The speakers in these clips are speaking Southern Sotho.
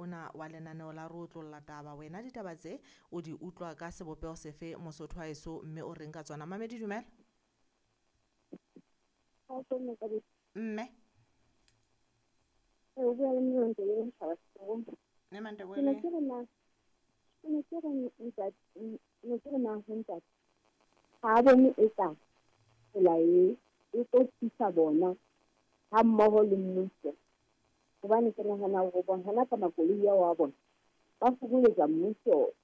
ona wa lenaneo la Re Otlolla Taba. Wena ditaba tse o di utlwa ka sebopeho sefe Mosotho wa heso, mme o reng ka tsona? Mamedi, dumela. Mme. O bua le Mme Mantebele. Mme Mantebele. Ke ne ke re ntate, ne ke re na ho ntate. Ha a bone eka tsela e e tlo thusa bona ha mmoho le mmuso. Hobane ke nahana hore bona hona ka makoloi ao a bona ba fokoletsa mmuso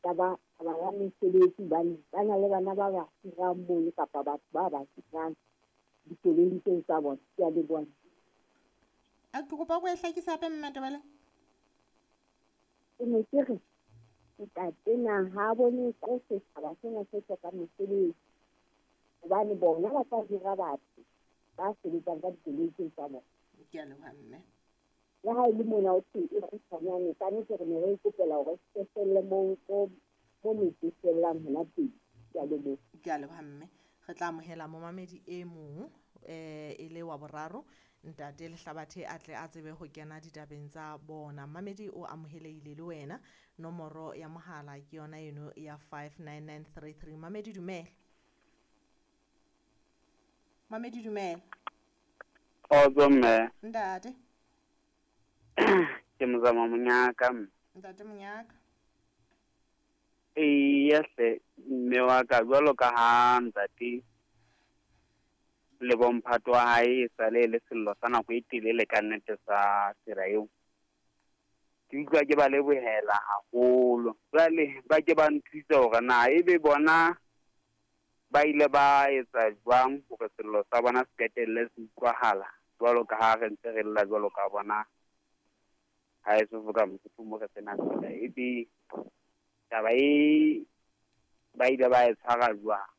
taba ya mesebetsi, hobane ba na le bana ba ba hirang mono kapa batho ba ba hirang dikoloing tseo tsa bona. Ke a leboha. A ke kopa o e hlakise hape, Mme Mantebele. Ke ne ke re ntate na ha bone ka setjhaba sena se hlokang mesebetsi, hobane bona ba tla hira batho ba sebetsang ka dikoloi tseo tsa bona. Ke a leboha, mme. Le ha e le mona ho thwe e kgutshwanyane, ka nnete re ne re ikopela hore se felle moo mo metse e fellang hona teng. Ke a leboha. Ke a leboha, mme. Re tla amohela momamedi e mong e le wa boraro, ntate Lehlabathe a tle a tsebe ho kena ditabeng tsa bona. Mamedi o amohelehile le wena. Nomoro ya mohala ke yona eno ya 59933. Mamedi, dumela. Mamedi, dumela. Kgotso mme. Ntate. Ke Mozama Monyaka mme. Ntate Monyaka. Eya hle mme wa ka, jwalo ka ha ntate le bomphato wa hae e sale le sello sa nako e telele ka nnete sa tsela eo. Ke utlwa ke ba lebohela haholo. Jwale ba ke ba nthuse hore na ebe bona ba ile ba etsa jwang hore sello sa bona se qetelle se utlwahala jwalo ka ha re ntse re lla jwalo ka bona. Ha e so ka Mosotho mo re sena tsela, ebe taba e ba ile ba e tshwara jwang?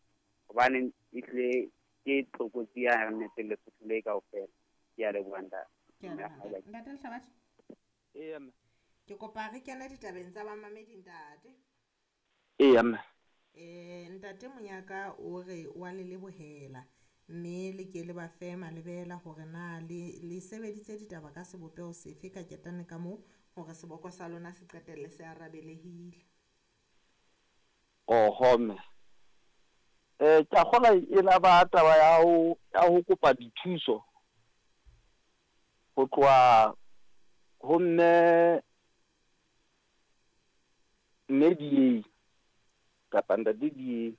Hobane ehlile ke tlokotsi ya nnete Lesotho le kaofela. Ke a leboha ntate. Ke a leboha. Ntate Lehlabathe. Eya mme. Ke kopa re kene ditabeng tsa bamamedi ntate. Eya mme. Ntate Monyaka o re wa le lebohela mme le ke le ba fe malebela hore na le sebeditse ditaba ka sebopeho sefe ka ketane ka moo hore seboko sa lona se qetelle se arabelehile. Oho mme. Ke a kgolwa e la ba taba ya ho kopa dithuso ho tloha ho mme DA kapa ntate DA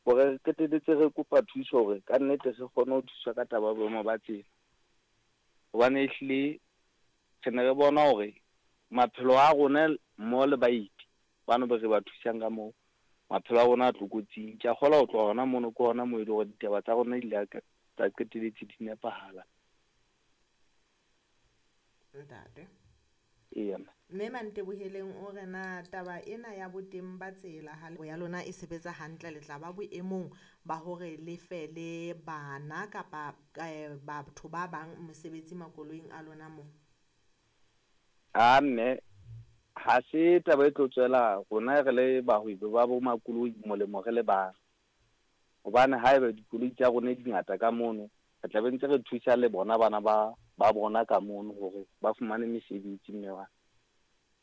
hore re qetelletse re kopa thuso hore ka nnete re kgone ho thuswa ka taba ya boemo ba tsela. Hobane ehlile re ne re bona hore maphelo a rona mmoho le baeti bano be re ba thusang ka moo, maphelo a rona a tlokotsing. Ke a kgolwa ho tloha hona mono ke hona moo e le hore ditaba tsa rona di ile tsa qetelletse di nepahala. Ntate. Eya mme. Mme Manteboheleng o re na taba ena ya boteng ba tsela ha ya lona e sebetsa hantle, le tla ba boemong ba hore le fe le bana kapa batho ba bang mosebetsi makoloing a lona moo? A mme, ha se taba e tlo tswela rona re le bahwebi ba bo makoloi molemo re le bang. Hobane haeba dikoloi tsa rona di ngata ka mono, re tla be ntse re thusa le bona bana ba bona ka mono hore ba fumane mesebetsi mme wa.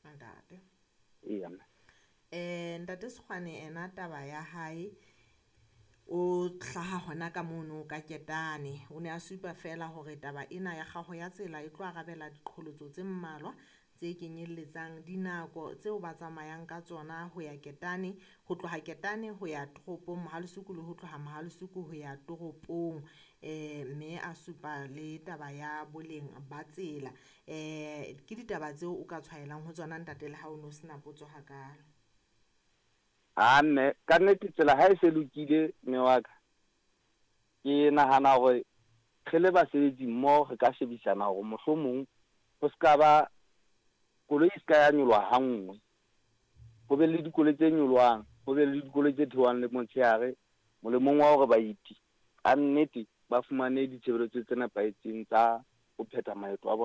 Ntate. Eya mme. Ntate Sekgwane ena taba ya hae o hlaha hona ka mono ka ketane. O ne a supa fela hore taba ena ya kgaho ya tsela e tlo arabela diqholotso tse mmalwa tse kenyelletsang dinako tseo ba tsamayang ka tsona ho ya Ketane, ho tloha Ketane ho ya toropong Mohalesuku le ho tloha Mohalesuku ho ya toropong. Mme a supa le taba ya boleng ba tsela. Ke ditaba tseo o ka tshwaelang ho tsona ntate le ha o no sena potso hakalo. A mme, ka nnete tsela ha e se lokile mme wa ka, ke nahana hore re le basebetsi mmoho re ka shebisana hore mohlomong ho ska ba koloi e ska ya nyoloha ha nngwe, ho be le dikoloi tse nyolohang, ho be le dikoloi tse theohang le motshehare, molemong wa hore baeti ka nnete ba fumane ditshebeletso tse nepahetseng tsa ho phetha maeto a bona.